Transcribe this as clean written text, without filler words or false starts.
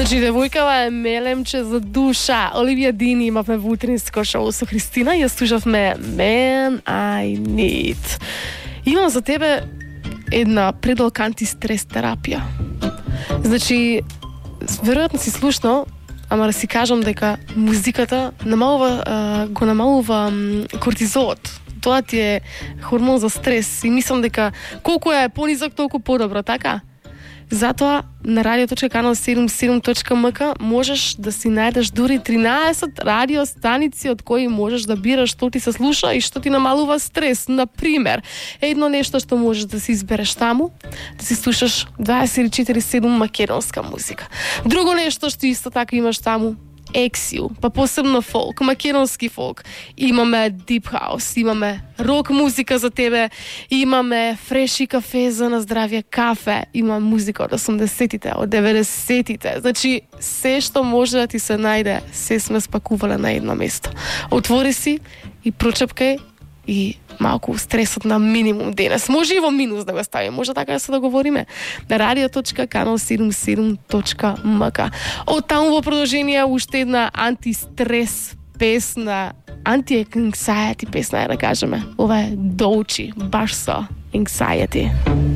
Значи, девојкава е мелемче за душа. Оливија Дини имавме во утринско шоу со Христина и ја слушавме Man I Need. Имам за тебе една предолка антистрес терапија. Значи, веројатно си слушнал, ама да си кажам дека музиката го намалува кортизолот. Тоа ти е хормон за стрес и мислам дека колку е понизок, толку подобро, така? Затоа на radio.canal77.mk можеш да си најдеш дури 13 радиостаници од кои можеш да бираш што ти се слуша и што ти намалува стрес. Например, едно нешто што можеш да си избереш таму, да си слушаш 24/7 македонска музика. Друго нешто што исто така имаш таму, ексиу, па посебно фолк, македонски фолк. Имаме дип хаус, имаме рок музика за тебе, имаме фреши кафе за на здравје кафе, има музика од 80-тите, од 90-тите. Значи, се што може да ти се најде, се сме спакувале на едно место. Отвори си и прочепкај и малку стресот на минимум денес. Може и во минус да го ставиме, може така да се договориме. На radio.canal77.mk. Од таму во продолжение уште една антистрес песна, anti-anxiety песна, да кажеме. Ова е Доучи, баш со anxiety.